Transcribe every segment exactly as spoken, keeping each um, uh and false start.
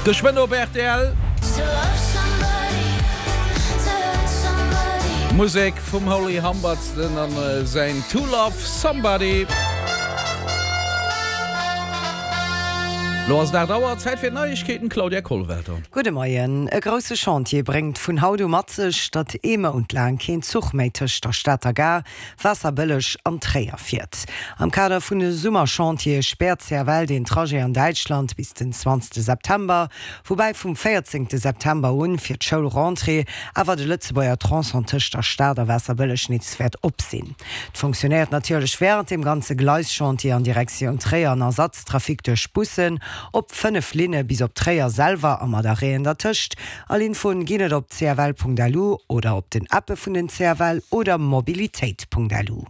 Geschwënn op rtl. Musek vum Holly Humberstone an säin To Love Somebody. Lo ass et aacht Auer, Zäit fir d'Neiegkeeten, Claudia Kollwelter. Gudde Moien. E grousse Chantier bréngt vun haut u mat sech, datt ee Mount laang keen Zuch méi tëscht der Stater Gare, Waasserbëlleg an Tréier fiert. Am Kader vun de Summerchantiere späert d'CFL deen Trajet an Däitschland bis den zwanzegste September, woubäi vum véierzéngte September un fir d'Schoulrentrée awer de Lëtzebuerger Tronçon tëscht der Stad a Waasserbëlleg nees wäert op sinn. Et fonctionnéiert natierlech wärend deem ganze Gleischantier an Direktioun Tréier en Ersatztrafic duerch Bussen op fënnef Linne bis op Tréier selwer a mat Arrêten dertëscht. All Infoen ginn et op cfl.lu oder op den Appe vun den cfl oder mobilitéit.lu.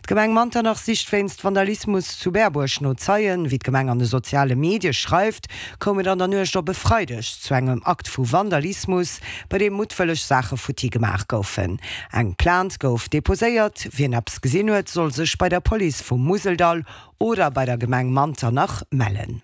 D'Gemeng Manternach sicht wéinst Vandalismus zu Berbuerg no Zeien. Wéi d'Gemeng an de soziale Medie schreift, koum et an der Nuecht op e Freideg zu engem Akt vu Vandalismus, bei deem muttwëlleg Saache futti gemaach goufen. Eng Plainte gouf deposéiert. Wien eppes gesinn huet, soll sech bei der Police vum Museldall oder bei der Gemeng Manternach mellen.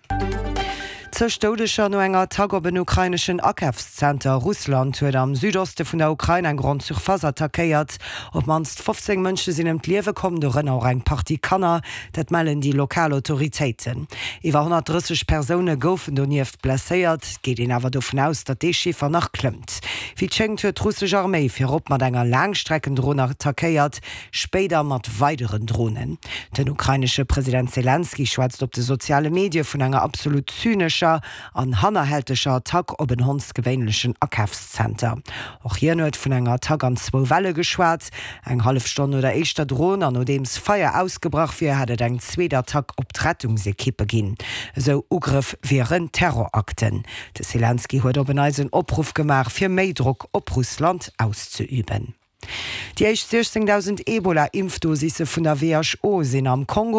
Zeg Doudeger no enger Attack op en ukraineschen Akafszenter, Russland huet am Südoste vun der Ukrain eng Grande Surface attackéiert. Op d'mannst fofzéng Mënsche sinn ëm d'Liewe komm, dorënner och eng Partie Kanner. Dat mellen déi lokal Autoritéiten. Iwwer honnertdrësseg Persoune goufen donieft blesséiert. Et geet een awer dovun aus, datt dee Chiffer nach klëmmt. Wéi et schéngt huet d'russesch Arméi virop mat enger Laangstreckendron attackéiert, spéider mat weideren Dronen. Den ukrainesche President Selenskyj schwätzt op de soziale Medie vun enger absolut zynescher an hannerhälteger Attack op en hondsgewéinlechen Akafszenter. Och hien huet vun enger Attack an zwou Welle geschwat. Eng hallef Stonn no der éischter Dron an nodeems Feier ausgebrach wier, hätt et eng zweet Attack op d'Rettungsekippe ginn. Esou Ugrëff wieren Terrorakten. De Selenskyj huet op en Neits en Opruff gemaach, fir méi Drock op Russland auszeüben. Déi éischt siechzéngdausend Ebola-Impfdosisse vun der who sinn am Kongo.